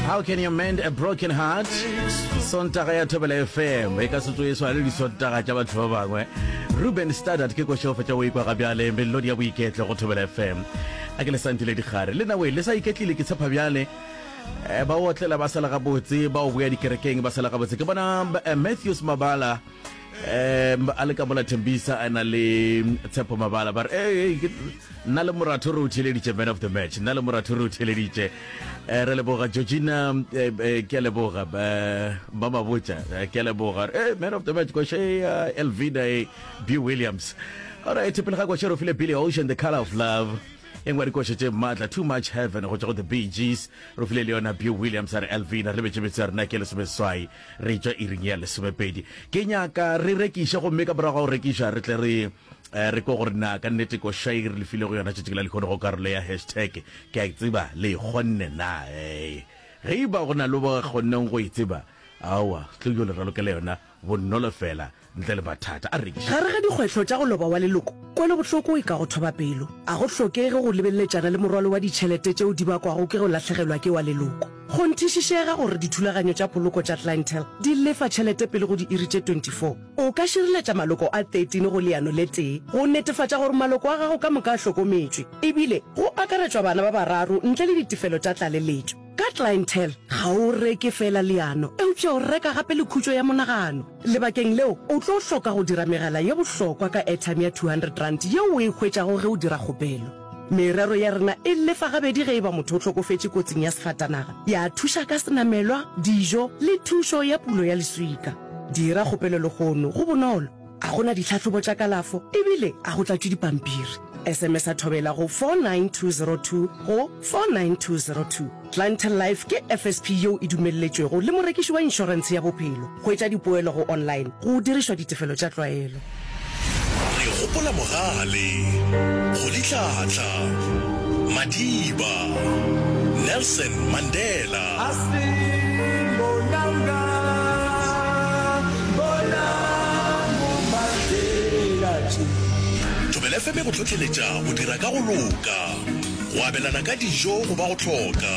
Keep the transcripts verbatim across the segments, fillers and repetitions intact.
How can you mend a broken heart? Sontaga ya Thobela F M e ka se tsoe swane le disontaga tša batho ba bangwe. Ruben Studdard ke košo fetša o ikwa ga bjale melodi ya boiketlo go Thobela F M. A ke le santile dikgare le nawe le sa iketlile, ke tshepa bjale eh, ba otlela ba sala gabotse, ba o boya dikerekeng ba sala gabotse. Ke bona eh, Matthews Mabala um a le ka mola Thembisa a na le Tshepo Mabala, ba re "Hey, hey, nna le moratho re o theleditše man of the match, nna le moratho re o theleditše." um re leboga Georgina, eh, eh, ke a leboga eh, ba mabotša, eh, ke a leboga. Hey, man of the match koše ya Elvina e B Williams. Alright, pele ga koše re file Billy Ocean, The Color of Love, e nngwe ya dikoše tše maatla, Too Much Heaven go tšwa go The Bee Gees. Re file le yona B Williams a re Elvina. Re lebetše ya rena ke lesomeseswai, re tšwa iring ya lesomepedi. Ke nyaka re rekiše, gomme ka morago ga go rekiša re tle re eh, re ko gore na ka nnete koša e re lefile go yona tšatši la lekgono go karolo ya hashtag ke a e tseba le e kgonne na. Ee, ge e ba go na le ba kgonneng go e tseba, aowa, tlo yo le ralokela yona bonolo fela ntle le mathata. A rekiše. Gare ga dikgwetlho tša go loba wa leloko, kwelobohloko e ka go thoba pelo. A go hlokege go lebeleletšana le morwalo wa ditšhelete tšeo di bakwago ke go lahlegelwa ke wa leloko. Kgonthišišega gore dithulaganyo tša poloko tša Clientele di lefa tšhelete pele go diiri tše twenty-four. O ka šireletša maloko a thirteen go leano le tee go netefatša gore maloko a gago ka moka a hlokometšwe, ebile go akaretšwa bana ba bararo ntle le ditefelo tša tlaleletšo. Ka Clientele ga o reke fela leano, eupša o reka gape le khutšo ya monagano. Lebakeng leo o tlo hloka go dira megala ye bohlokwa ka airtime ya two hundred rand yeo o e hwetšago ge o dira kgopelo. Merero ya rena e lefa gabedi ge e ba motho o hlokofetše kotsing ya sefatanaga, ya thuša ka senamelwa, dijo le thušo ya pulo ya leswika. Dira kgopelo lehono, go bonolo, a gona ditlhahlobo tša kalafo ebile a go tlatšwe dipampiri. S M S a thobela go four nine two zero two go four nine two zero two. Clientele Life ke F S P yeo e dumelletšwego le morekiši wa inšorentshe ya bophelo. Hwetša dipoelo go online go dirišwa ditefelo tša tlwaelo. Re gopola mogale Rolihlahla Madiba Nelson Mandela. Asimbonanga bonang Mandela. Thobela F M e go tlhotlheletša go dira ka go loka, go abelana ka dijo go ba go hloka,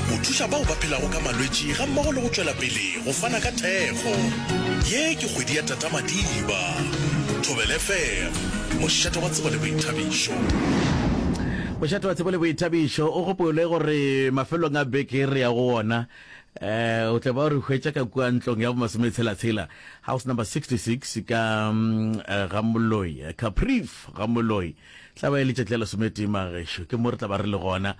go thuša bao ba phelago ka malwetši ga mmogo le go tšwela pele go fana ka thekgo. Ye ke kgwedi ya Tata Madiba. Thobela F M, mošate wa tsebo le boithabišo. Mošate wa tsebo le boithabišo. O gopole gore mafelong a beke re ya go ona eh o tle ba re hwetša ka kua ntlong ya bomasometshela-tshela, house number sixty-six ka mm, eh, ga Moloi, eh, Caprief ga Moloi. Tla ba e letšatši la lesometee magešo, ke mo re tla ba re le gona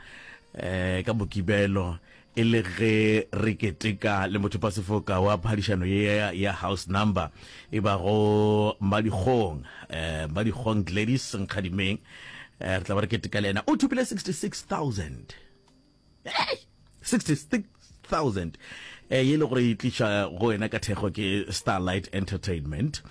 eh ka Mokibelo, e le ge re keteka le motho pasefoka wa phadišano ye ya, ya house number e ba go Madikgong, eh Madikgong Gladys Nkgadimeng. eh re tla ba re keteka le yena, o thopile sixty-six thousand. Hey! sixty-six thousand eh ye le gore e tliša go wena ka thekgo ke Starlight Entertainment.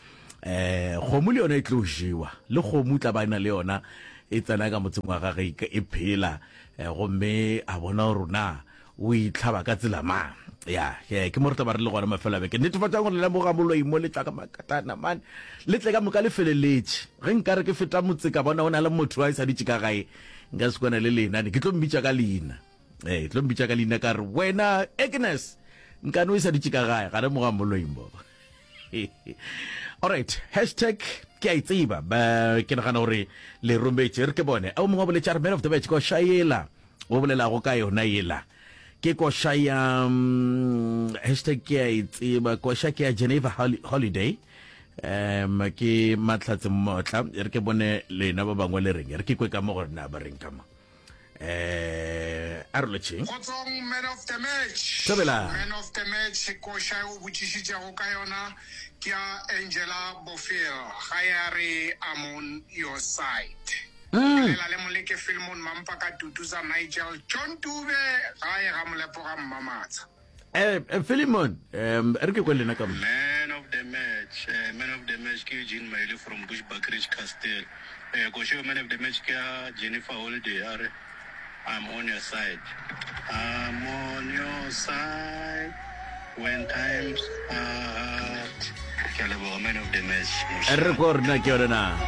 eh kgomo le yona e tlo jewa, le kgomo tla ba na le yona e tsena ka motseng wa gage e phela, eh, gomme a bona gore na o itlhaba ka tsela mang. Ya, ke mo re tla ba re le gona mafelo a beke. Netefatšang gore le lemoga Moloi mo le tla ka makatana man, le tle ka moka le feleletše. Ge nkare ke feta motse ka bona o na le motho a e sa ditše ka gae, nka se kwana le lena, ke tlo mmitša ka leina, ee, tlo mmitša ka leina ka re, "Wena Agnes, nkane o e sa ditše ka gae?" Ga lemoga Moloi mo. Alright, hashtag ke a e tseba, ke nagana gore le rometše. Re ke bone o mongwe wa boletše a re man of the match koša yela o bolelago ka yona yela ke koša ya um, hashtag ke a e tseba, koša ke ya Geneva Holiday, um ke Matlhatse Mmotla. Re ke bone lena ba bangwe le reng, re ke kwe ka mo gore na ba reng ka mo. eh a re lotšheng. Kgotsong, man of the match. Thobela. Man of the match koša o botšišitšego ka yona ke ya Angela Bofil, ga ya re "I'm on your side". Bolela le Moleke Filmon Mampa ka Tutusa Nigel John Tube gae ga Molepo ga Mmamatsha. eh Philemon, um re ke kwe lena ka mo. Man of the match, uh, man of the match ke Eugene Maile from Bushbuckridge Castle. Uh, Kosho, man of the match ke ya Jennifer Holiday a re "I'm on your side". I'm on your side when times are hard. Ke a leboga, man of the match. Re ko rena ke yone na.